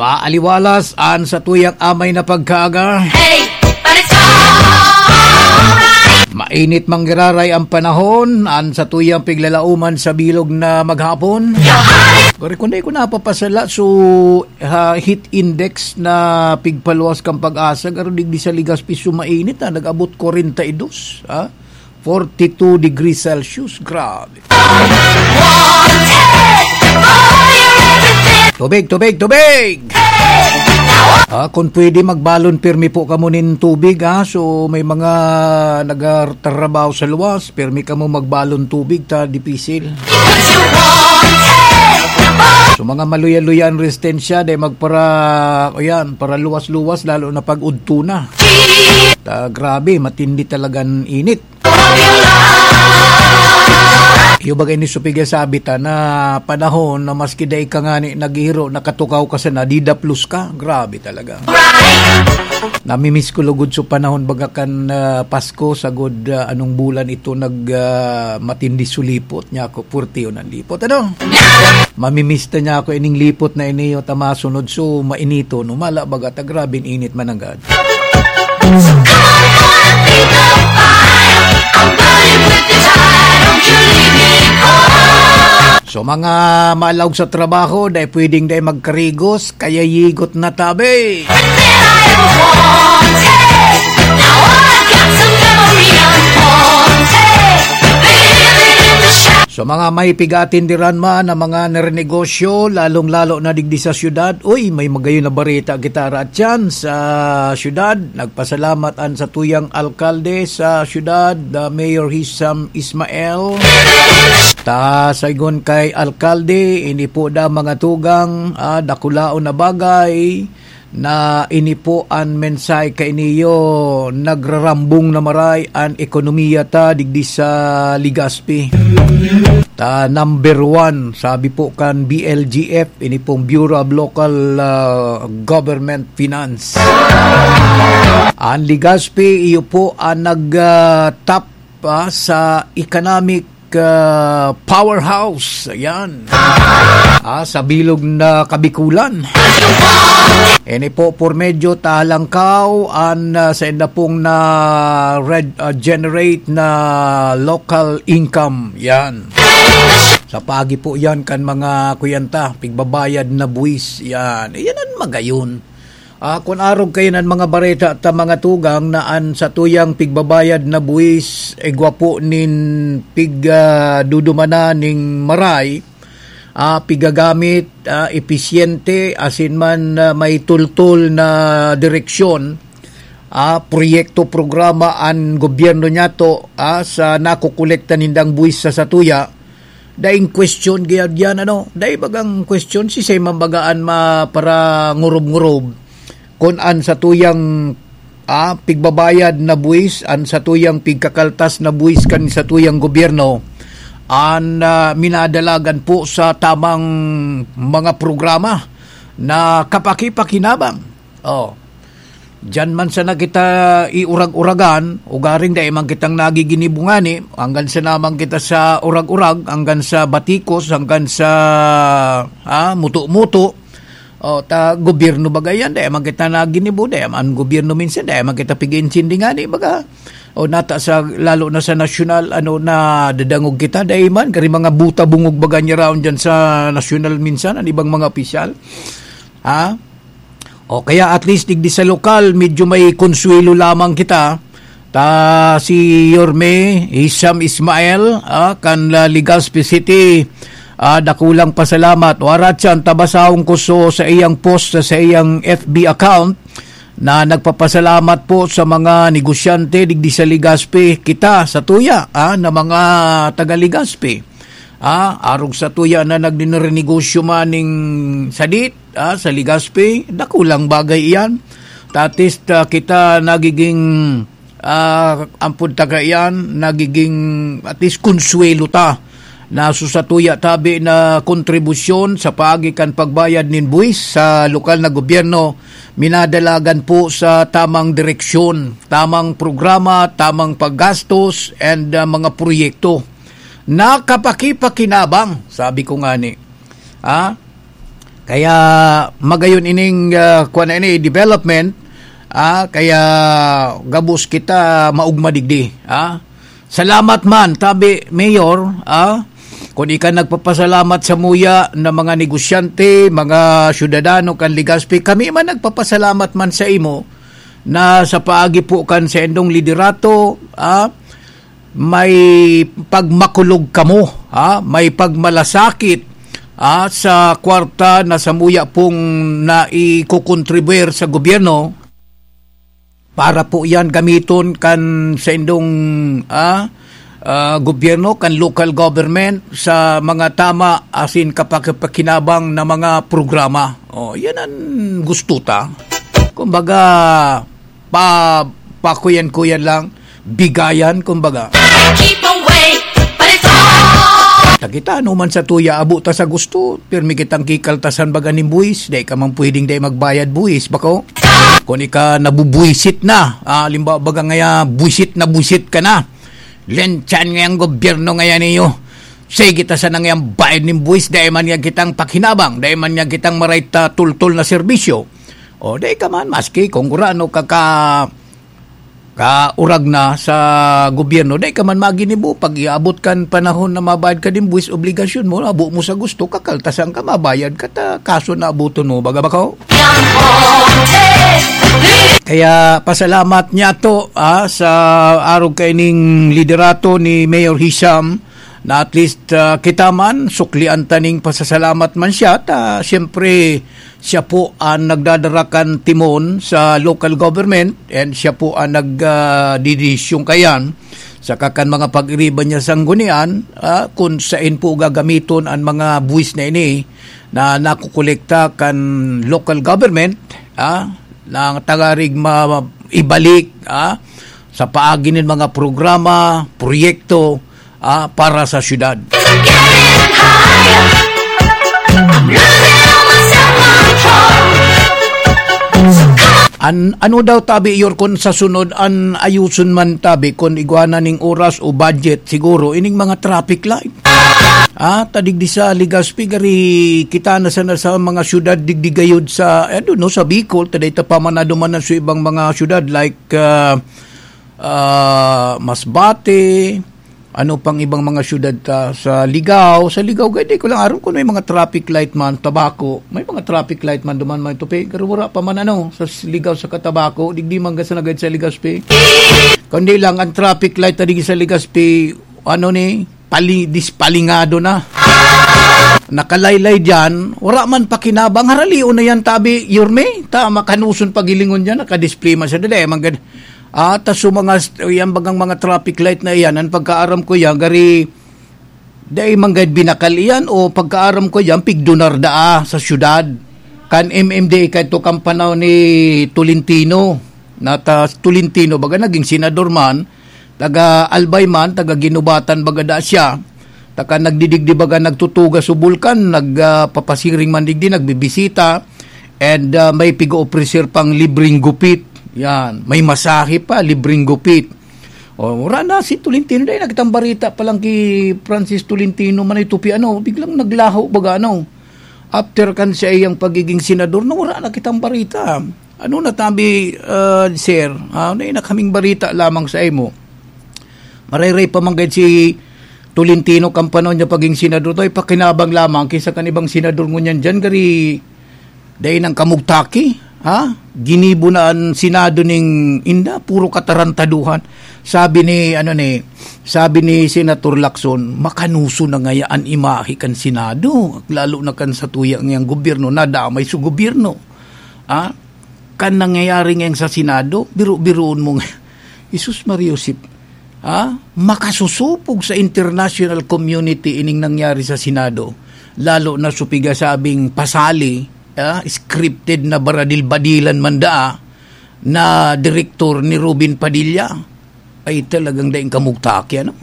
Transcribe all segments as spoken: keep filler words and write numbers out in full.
Paaliwalas an satuyang amay na pagkaaga. Hey, but it's alright. Mainit manggiraray ang panahon, an satuyang piglalauman sa bilog na maghapon. Gari, kung di ko napapasala, so, ha, heat index na pigpaluwas kan Pag-asa, garo digdi sa Legazpi, so mainit, ha, nag-abot kwarenta y dos, ha? Forty-two degrees Celsius. Grabe. Tubig, tubig, tubig! Ah, kung pwede, magbalon pirmi po kamo nin tubig, ha? So, may mga nagtatrabaho sa luwas, pirmi kamo magbalon tubig, ta dipisil. So, mga maluya-luya ang resistensya, dahil magpara, o yan, para luwas-luwas, lalo na pag udto na. Ta, grabe, matindi talagang init. Iyo bagay ni Supiga sabi ta na panahon na maski dai ka ngani naghihiro, nakatukaw ka sana, didaplos ka. Grabe talaga. Namimiss ko lugod so panahon baga kan, ah, Pasko, sagod, ah, anong bulan ito nag, ah, matindi sulipot niya ako, purtiyo ng lipot. Ano? Mamimiss ta niya ako ining lipot na ini, o tama sunod so mainito, no? Mala baga ta, grabing init mananggad. So, mga maalaog sa trabaho, dai pwedeng dai magkarigos, kaya yigot na tabi. So, mga may pigatindiran man na mga narenegosyo, lalong-lalo na digdi sa syudad, uy, may magayon na bareta kita raatyan sa syudad. Nagpasalamat an satuyang alkalde sa syudad, the Mayor Hisam Ismael. Ta, saygon kay alkalde, ini po da mga tugang, ah, dakulaon na bagay na ini po an mensahe kainiyo, nagrarambong na maray an ekonomiya ta digdi sa Legazpi. Ta, number one, sabi po kan B L G F, ini pong Bureau of Local, ah, Government Finance. An Legazpi, iyo po an nag, ah, top, ah, sa economic, ah, powerhouse. Ayan. Ah, sa bilog na Kabikulan. Ini po, por medyo talangkaw, an, ah, sa inda pong na red, ah, generate na local income. Yan. Sa pagi po yan kan mga kuyanta, pigbabayad na buwis. Yan. Yan ang magayon. Ah, kun arog kayo nan mga bareta ta mga tugang na an satuyang pigbabayad na buwis, igwa po nin pig, ah, dudumana ning maray, ah, pigagamit, ah, episyente, asin man, ah, may tultol na direksyon, ah, proyekto, programa an gobyerno niyato, ah, sa nakokolekta nindang buwis sa satuya, daing question gayad yan, ano? Dai bagang question, si say mambagaan ma para ngurob-ngurob. Kun an satuyang, ah, pigbabayad na buwis, an satuyang pigkakaltas na buwis kan satuyang gobyerno, an, ah, minadalagan po sa tamang mga programa na kapakipakinabang. Oh. Diyan man sana kita iurag-uragan, ugaring dai man kitang nagiginibo ngani, hanggang sa naman kita sa urag-urag, hanggang sa batikos, hanggang sa, ah, muto-muto. O, ta, gobyerno baga yan, dai man kita naginibo, dai man gobyerno minsan, dai man kita pig-iintindi ngani, baga. O, nata sa, lalo na sa nasyonal, ano, nadadangog kita, dai man, kari mga buta bungog baga niya raon dyan sa nasyonal minsan, ang ibang mga opisyal. Ha? O kaya at least digdi sa lokal, medyo may konsuwelo lamang kita. Ta si Yorme Hisham Ismael, ah, kan, ah, Legazpi City, ah, dakulang pasalamat. Warat siya, tabasahon ko so sa iyang post sa, sa iyang F B account na nagpapasalamat po sa mga negosyante digdi sa Legazpi. Kita, sa tuya, ah, na mga taga Legazpi. Ah, arog sa tuya na nagdinirenegosyo man ning sadit, ah, sa Legazpi, dakulang bagay iyan. Tatis ta kita nagiging, ah, ampod taga iyan, nagiging at least konsuwelo ta na so sa tuya tabi na kontribusyon sa paagi kan pagbayad nin buwis sa lokal na gobyerno, minadalagan po sa tamang direksyon, tamang programa, tamang paggastos, and, ah, mga proyekto. Nakapakipakinabang, sabi ko ngani. Ah? Kaya magayon ining, ah, kuwan na ini, development, ah, kaya gabos kita maugma digdi, ah. Salamat man, tabi, Mayor, ah, kun ika nagpapasalamat sa muya na mga negosyante, mga syudadano kan Legazpi, kami man nagpapasalamat man sa imo na sa paagi po kan sa indong liderato, ah, may pagmakulog kamo, ha? May pagmalasakit, ha, sa kwarta na samuya pong naikokontribuir sa gobyerno para po yan gamiton kan sa indong, ah, ah, gobyerno, kan local government sa mga tama asin kapakapakinabang na mga programa. Oh, yan ang gusto ta. Kumbaga, pa, pakuyan-kuyan lang, bigayan, kumbaga. Keep away, but it's all. Takita, ano man sa tuya, abo ta sa gusto, pirmi kitang kikaltasan baga nin buwis, dai ka man pwedeng dai magbayad buwis, bako? Kung ika nabubuwisit na, ah, halimbawa baga ngaya, buwisit na buwisit ka na. Lenchan ngayang gobyerno ngayan niyo. Sige ta sana ngayang bayad nin buwis, dai man niya kitang pakhinabang, dai man niya kitang maray ta tultol na serbisyo. O, dai ka man, maski kung gurano ka, ka, kaurag na sa gobyerno, dai ka man maginibo. Pag iabot kan panahon na mabayad ka nin buwis, obligasyon mo, abo mo sa gusto, kakaltasan ka, mabayad ka, ta, kaso na abuton mo, baga bako? Kaya pasalamat niya to, ah, sa arog kaining liderato ni Mayor Hisham, na at least, ah, kita man, suklian taning pasasalamat man siya. Ta, siyempre, siya po ang nagdadara kan timon sa local government and siya po ang nag, ah, didesisyon kayan. Saka kan mga pag-iriba niya sanggunian, ah, kung sain po gagamiton ang mga buwis na ini na nakukolekta kan local government, ah, na tagarig ma-, ibalik, ah, sa paagi nin mga programa, proyekto, ah, para sa syudad. An-, ano daw tabi, Yorkon, sa sunod, an ayuson man tabi, kun igwa na ning oras o budget, siguro, ining mga traffic light. Ah, tadig di sa Legazpi, gari kita na sana sa mga syudad digdi gayod sa, I don't know, sa Bicol, taday ta pa man na duman sa ibang mga syudad like, ah, ah, Masbate, ano pang ibang mga syudad ta, sa Ligao. Sa Ligao, gay, di ko lang aram kung may mga traffic light man, Tabaco. May mga traffic light man duman, may tupi. Pero wala pa man, ano, sa s-, Ligao sa Tabaco, digdi man gasa na gayod sa Legazpi. Kundi lang, ang traffic light na digdi sa Legazpi, ano ni, pali-, dispalingado na. Nakalaylay diyan, wala man pakinabang, haralion na yan, tabi, Yorme, ta, makanuson pagilingon diyan, nakadisplay man siya, dali, man gad-, ah, ta, so mga st-, yan bagang mga traffic light na iyan, ang pagkaaram ko yan, gari, dai man gad binakal iyan, o pagkaaram ko yan, pigdonar daa sa syudad. Kan M M D A, kadto kan panahon ni Tolentino, na ta, Tolentino, baga naging senador man, taga Albay man, taga Guinobatan baga da siya. Taka nagdidigdi baga nagtutugas o bulkan, nag, ah, papasiring man digdi, nagbibisita, and, ah, may piga-ofrecer pang libreng gupit. Yan, may masahe pa, libreng gupit. O, wala na si Tolentino, dai nagtambarita pa lang ki Francis Tolentino man ito pi ano, biglang naglaho baga ano. After kan sa iyang pagiging senador, na wala na kitang barita. Ano na tabi, ah, sir? Ah, ano na kaming barita lamang sa imo? Marayray pa man gayud si Tolentino kan panahon niya paging senador, to, ipakinabang lamang kinsa kan ibang senador ngunyan diyan, gari dai nang kamugtaki, ha? Ginibo na an Senado ning inda, puro katarantaduhan. Sabi ni, ano ni, sabi ni Senator Lacson, "Makanuso na ngaya an imahe kan Senado, lalo na kan sa tuya ngayang gobyerno, nadamay sa gobyerno." Ha? Kan nangyayari ngayon sa Senado, biro-biroon mo nga, Jesus Maria Josep, ha? Makasusupog sa international community ining nangyari sa Senado, lalo na sa pigasabing pasali, ha? Scripted na baradil-badilan man daa na direktor ni Robin Padilla. Ay, talagang daing kamugtaki, ano?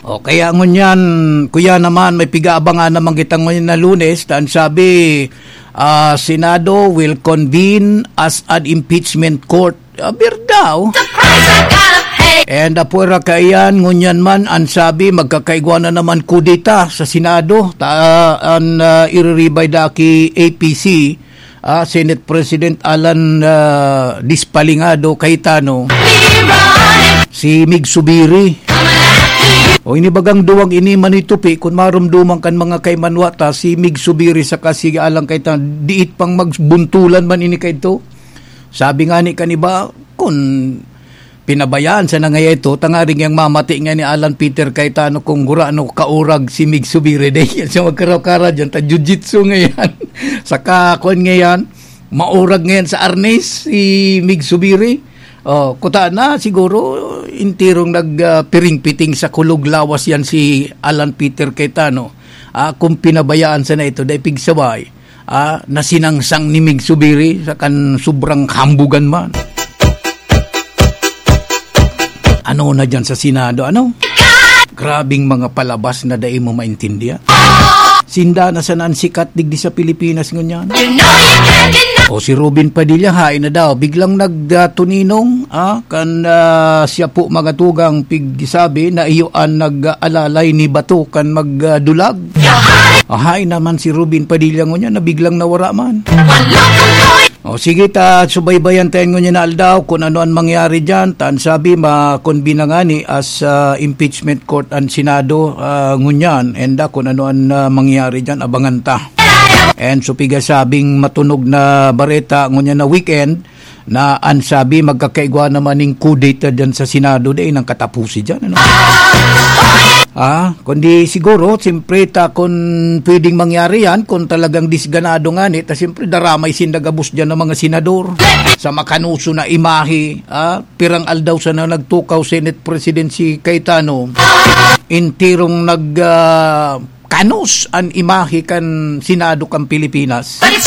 O, kaya ngunyan, kuya naman, may pigaabangan naman kita ngunyan na Lunes, ta an sabi, ah, Senado will convene as an impeachment court. Ah, birdaw. The price I gotta pay. And apwera kaiyan, ngunyan man, an sabi, magkakaigwa na naman kudeta sa Senado. Ta, an, ah, iriribay da ki A P C, ah, Senate President Alan, ah, Dispalingado Cayetano, si Mig Subiri. O ini bagang duwang ini manitupi, kun marumduman kan mga kaimanwa ta, si Mig Subiri saka si Alan Cayetano, diit pang magbuntulan man ini kaidto. Sabi nga ni kan iba, kun pinabayaan sana ngaya ito, tangaring yang mamati nga ni Alan Peter Cayetano kung gurano kaurag si Mig Subiri. Dahil yan sa magkaraw-kara dyan, ta jiu-jitsu ngayon. Saka, kwan ngayon, maurag ngayon sa arnis si Mig Subiri. Oh, kuta na siguro, intirong nag, ah, piring-piting sa kulog lawas yan si Alan Peter Cayetano. Ah, kung pinabayaan sana ito, dahil pigsabay, ah, nasinangsang ni Mig Subiri sa kan sobrang hambugan man. Ano na dyan sa Senado, ano? Grabing mga palabas na dai mo maintindihan. Sinda na sana an sikat digdi sa Pilipinas ngunyan. O si Robin Padilla, hain na daw. Biglang nagtuninong, ah, kan, ah, siya po mga tugang pigsabi na iyo an nag-alalay ni bato kan magdulag. Ah, hain naman si Robin Padilla ngunyan na biglang nawara man. O sige, ta, subaybayan tayo ngunyan na aldaw kung ano ang mangyari dyan. Tan sabi, makonbina ngani as, ah, impeachment court ang Senado, ah, ngunyan. And, ah, kung ano ang, ah, mangyari dyan, abangan ta. And so, piga sabing matunog na bareta ngunyan na weekend, na an sabi, magkakaigwa naman ning kudeta dyan sa Senado, di nang katapusi dyan, ano? Ah, kundi siguro, siyempre, ta, kung pwedeng mangyari yan, kung talagang disganado ngani, ta siyempre, daramay sinda gabos dyan ng mga senador sa makanuso na imahe, ah, pirang aldaw sana nagtukaw Senate President si Cayetano, intirong nag, ah, kanos an imahe kan Senado kan Pilipinas. But it's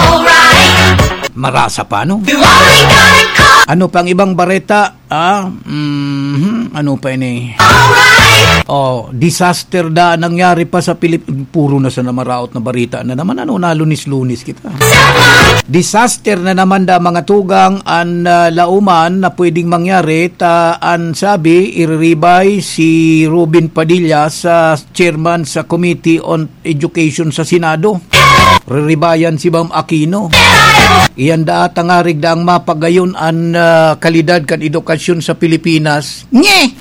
alright. Marasa pa, no? You only got a call. Ano pang ibang bareta? Ah, mhm, ano pa ini? Alright. Oh, disaster da nangyari pa sa Pilip-, puro na sa namaraot na barita na naman. Ano, nalunis-lunis kita. Disaster na naman da, mga tugang, an, ah, lauman na pwedeng mangyari, ta an sabi, iriribay si Robin Padilla sa chairman sa Committee on Education sa Senado. Riribayan si Bam Aquino. Iyan da tangarig daang mapagayon an, ah, kalidad kan edukasyon sa Pilipinas. Nye!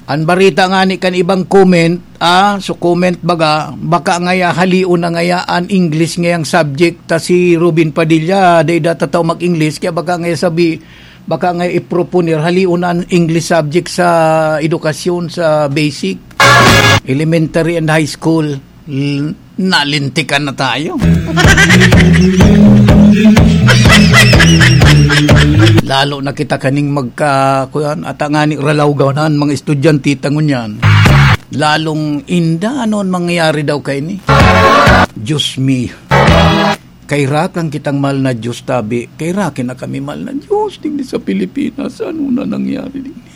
An barita ngani kan ibang comment, ah, so comment baga, baka ngaya halion na ngaya an English ngayang subject, ta si Robin Padilla, dai da tataw mag-English, kaya baka ngaya sabi, baka ngaya iproponer, halion na an English subject sa edukasyon, sa basic, elementary and high school. L-, nalintikan na tayo. Lalo na kita kaning magka-, kuyan, ata ngani ralawgaw na an mga estudyante ta ngunyan. Lalong inda, ano an mangyayari daw kaini? Diyos mio. Kairakan kitang mahal na Diyos, tabi. Kairakan na kami, mahal na Diyos, digdi sa Pilipinas. Ano na nangyari digdi?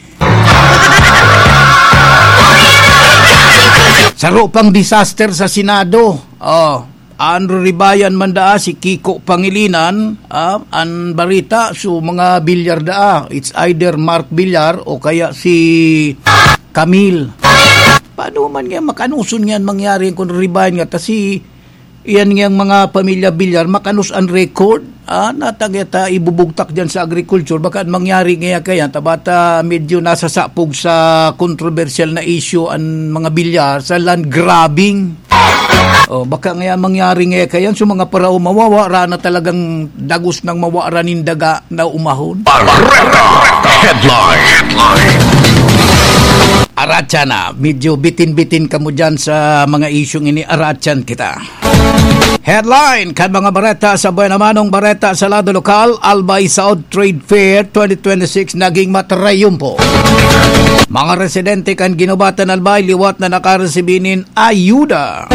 Saro pang disaster sa Senado. Oh, an riribayan man daa si Kiko Pangilinan, ah, an barita, so mga Villar daa. It's either Mark Villar o kaya si Camille. Paano man nga, makanuson nga mangyari kung riribayan nga? Ta si, iyan nga mga pamilya Villar, makanos an record. Ah, natagya ta ibubugtak dyan sa agriculture. Baka mangyari nga kaya, tabata medyo nasasapog sa controversial na issue an mga Villar sa land grabbing. Oh, baka nga mangyari nga kaya, so mga parao mawawa, rana talagang dagos nang mawaran nin daga na umahon. Bareta Headline. Aratyan na, medyo bitin-bitin kamo dyan sa mga isyung ini, aratyan kita. Headline kan mga bareta sa Buenamanong Bareta sa lado lokal, Albay South Trade Fair twenty twenty-six naging matrayumpo. Mga residente kan Guinobatan, Albay, liwat na nakaresibi nin ayuda.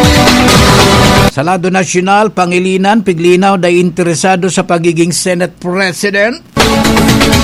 Sa lado nasyonal, Pangilinan, piglinaw, dai interesado sa pagiging Senate President.